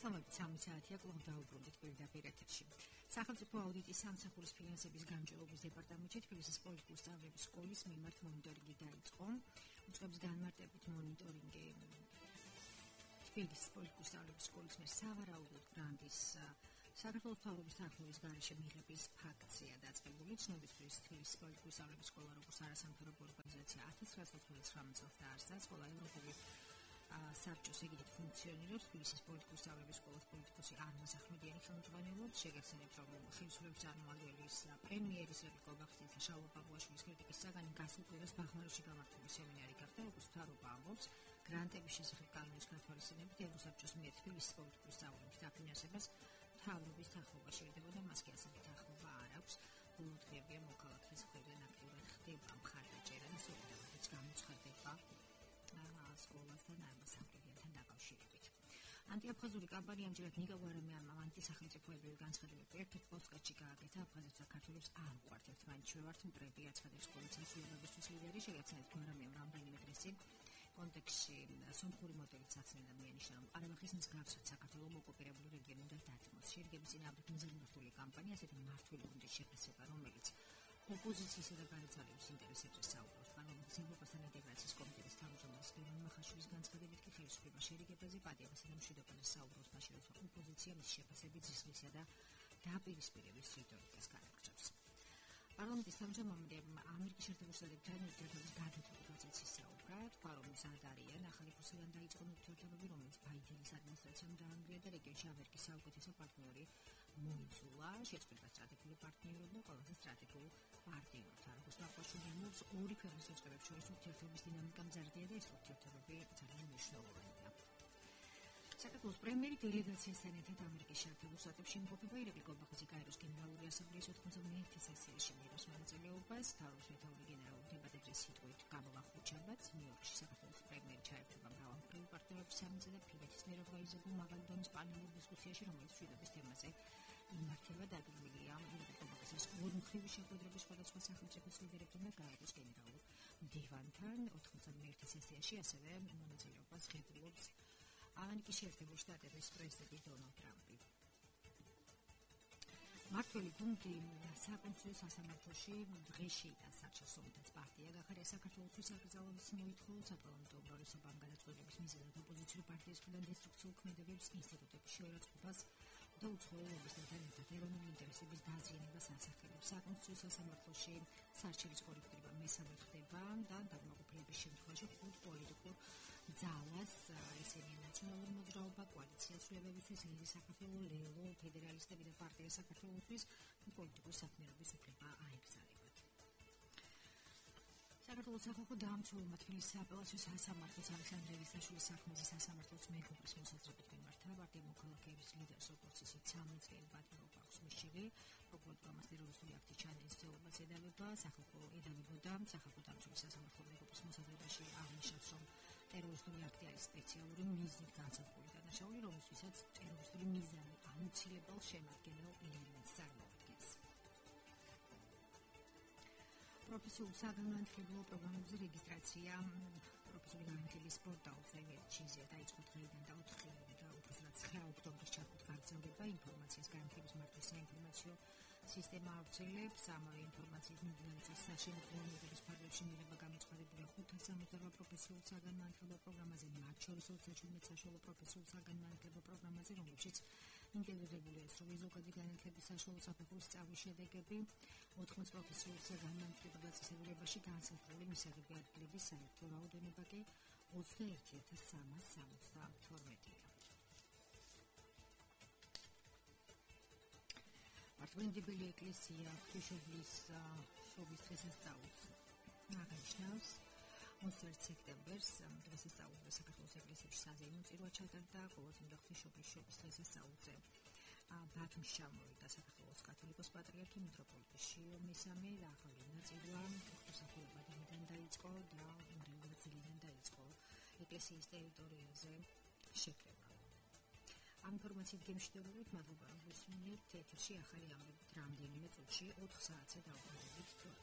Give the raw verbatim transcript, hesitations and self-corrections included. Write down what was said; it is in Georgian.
მოგესალმებით სამი საათია კვლავ დაუბრუნდით პირდაპირ ეთერში. სახელმწიფო აუდიტის სამსახურის ფინანსების განჯელობის დეპარტამენტში თბილისის პოლიტიკური სწავლების სკოლის მიმართ მონიტორინგი დაიწყო. უწყების განმარტებით მონიტორინგი თბილისის პოლიტიკური სწავლების სკოლის მიერ სავარაუდოდ გრანტის საქართველოს მთავრობის თანხმობის გარეშე მიღების ფაქტია დაწყებული. ცნობისთვის თბილისის პოლიტიკური სწავლების სკოლა როგორც არასამთავრობო ორგანიზაცია ათას ცხრაასი ოცდათხმეტ წელს დაარსდა. სკოლა ევროპული საბჭოს ეგიდით ფუნქციონირებს. თბილისის პოლიტიკური სწავლების სკოლას პოლიტიკოსი არმაზ ახმედიანი ხელმძღვანელობს. შეგახსენებთ, რომ ხელისუფლების წარმომადგენლის პრემიერის რებიკო ბახტიძე შალვა პავლაშვილის კრიტიკის საგანი გასულ კვირას ბაღმაროში გამართული სემინარი გახდა, როგორც მთავრობა ამბობს, გრანტების შესახებ კანონის გათვალისწინებით ევროსაბჭოს მიერ თბილისის პოლიტიკური სწავლების დაფინანსებას მთავრობის თანხმობა შეიძლება, მასკი ასევე თანხმობა არ აქვს. ბოლო დღეებია მოქალაქის მხრიდან აქტიურად ხდება მხარდაჭერა და სოლიდარობით გამოცხადდება სკოლასთან ამასაკრებიანთან დაკავშირებით. ანტიაფხაზური კამპანია ამჯერად ნიკარაგუამ ანტისახელმწიფოებრივი განცხადებები ერთ-ერთ პოსტკარტში გააკეთა. აფხაზებს საქართველოს არ უყვართ ერთმანეთში ვართ მტრები აცხადებს სკოლის სასწავლებლის ლიდერი. შეგახსენებთ, მაგრამ რამდენიმე დღის წინ კონტექსტში სომხური მოდელიც ახსენდა მიანიშნა, რომ ყარაბაღის მსგავსად საქართველოს ოკუპირებული რეგიონი უნდა დათმოს. შერგების წინააღმდეგ მიზნმორთული კამპანია ასეთი მმართველი გუნდის შეფასება, რომელიც ოპოზიციისა და განაცალების ინტერესებზე საუბრობს. პარლამენტის ევროპასთან ინტეგრაციის კომიტეტის თავმჯდომარის ლევან მახაშვილის განცხადებით კი ხელისუფლება შერიგებაზე პატიებასა და მშვიდობაზე საუბრობს, მაშინ როცა ოპოზიცია მის შეფასებით ზისლისა და დაპირისპირების რიტორიკას განაგრძობს. პარლამენტის თავმჯდომარე ამერიკის შეერთებული შტატებთან ურთიერთობის გადატვირთული პროცესის საუბრა. თქვა, რომ ის არ არიან ახალი კურსიდან დაიწყო ურთიერთობები, რომელიც ბაიდენის ადმინისტრაციამ დაანგრია და რეგიონში ამერიკის საუკეთესო პარტნიორი მოიწულა. შეწყვიტა სტრატეგიული პარტნიორობა ყველაზე სტრატეგიულ პარტნიორთან. როგორც ნაყოფშვილი ამბობს, ორი ქვეყნის უწყებებს შორის ურთიერთობის დინამიკა მზარდია და ეს ურთიერთობები ძალიან მნიშვნელოვანია. საქართველოს პრემიერი დელეგაციასთან ერთად ამერიკის შეერთებულ შტატებში იმყოფება. რებიკო ბახტიძე კაიროს გენერალური ასამბლეის ოთხმოცდამეერთე სესიაში მიიღოს მონაწილეობას. თავის მეთაური გენერალურ დებატებზე სიტყვით გამოვახუჩებაც. ნიუ-იორკში საქართველოს პრემიერი ჩაერთვება მრავალმხრივი პარტნიორების სამინისტრო და ფინეთის მიერ ორგანიზებულ მაღალი დონის პანელურ დისკუსიაში, რომელიც მშვიდობის თემაზე იმართება. დაგეგმილია რებიკო ბახტიძეს ორმხრივი შეხვედრები სხვადასხვა სახელმწიფოს ლიდერებთან და გაეროს გენერალურ მდივანთან. ოთხმოცდამეერთე სესიაში ასევე მონაწილეობას ღებულობს ამერიკის შეერთებული შტატების პრეზიდენტი დონალდ ტრამპი. მართველი გუნდი საკონსულო სასამართლოში დღეში და საჩხერტო ომთაც პარტია გახარია. საქართველოს საკრძალვის მოითხოვა საპარლამენტო უმრავლესობამ გადაწყვეტილების მიზეზად ოპოზიციური პარტიის მხრიდან დესტრუქციულ ქმედებებს, ინსტიტუტების შეურაცხყოფას და უცხოელებისთან ერთად ეროვნული ინტერესების დაზიანებას ასახელებს. საკონსულო სასამართლოში სარჩელის კორექტირება მესამე ხდება და დაკმაყოფილების შემთხვევაში ხუთ პოლიტიკურ ძალას, ესენია ნაციონალური მოძრაობა, კოალიცია ცვლილებებისთვის, ლიზი საქართველო, ლელო, ფედერალისტები და პარტია საქართველოსთვის პოლიტიკური საქმიანობის უფლება აეგზალებათ. საქართველოს სახალხო დაამცველმა თბილისის სააპელაციო სასამართლოს ალექსანდრე ელისაშვილის საქმეზე სასამართლოს მეგობრის მოსაზრებით მიმართა. პარტია მოქალაქეების ლიდერს როგორც ისიც სამი წელი პატიმრობა აქვს მისშევი. პროკურატურამ ტერორისტული აქტის ჩადენის ცდილობას ედავება. სახალხო ედავებოდა სახალხო დაამცველი სასამართლო მეგობრის მოსაზრებაში აღნიშნავს, რომ ტერორისტული აქტი არის სპეციალური მიზნით განსაზღვრული დანაშაული, რომლისთვისაც ტერორისტული მიზანი აუცილებელ შემადგენელ ელემენტს წარმოადგენს. პროფესიულ საგანმანათლებლო პროგრამებზე რეგისტრაცია პროფესიული განათლების პორტალზე ვებჩიზე დაიწყო დღეიდან და ოთხი და უბრალოდ ცხრა ოქტომბრის ჩათვლით გაგრძელდება. ინფორმაციას განათლების მართვის საინფორმაციო სისტემა ავრცელებს. ამავე ინფორმაციის მიმდინარეობის საშემოქმედო ნებების ფარგლებში მიღება გამოცხადებულია ხუთას სამოცდაოთხ პროფესიულ საგანმანათლებლო პროგრამაზე, მათ შორის ოცდაშვიდ საშუალო პროფესიულ საგანმანათლებლო პროგრამაზე, რომლებშიც ინტეგრირებულია სრული ზოგადი განათლების საშუალო საფეხურის სწავლის შედეგები. ოთხმოც პროფესიულ საგანმანათლებლო დაწესებულებაში განსაზღვრული მისაღები ადგილების საერთო რაოდენობა კი ოცდაერთი ათას სამას სამოცდათორმეტია. მართლმადიდებელი ეკლესია ღვთისმშობლის შობის დღესასწაულს აღნიშნავს. ოცდაერთი სექტემბერს დღესასწაულზე საქართველოს ეკლესიაში საზეიმო წირვა ჩატარდა. ყოველწლიურად ღვთისმშობლის შობის დღესასწაულზე ბათუმში ჩამოვიდა საქართველოს კათოლიკოს პატრიარქი მიტროპოლიტი შიო მესამე. ახალი ნაწილვა ღვთისმსახურება დღიდან დაიწყო და იმდენად ძლიდან დაიწყო ეკლესიის ტერიტორიაზე შეკრება. ამ ინფორმაციით გემშვიდობებით მადლობა რომ გესმინეთ ეთერში ახალი ამბებით რამდენიმე წუთში ოთხ საათზე დავუბრუნდებით.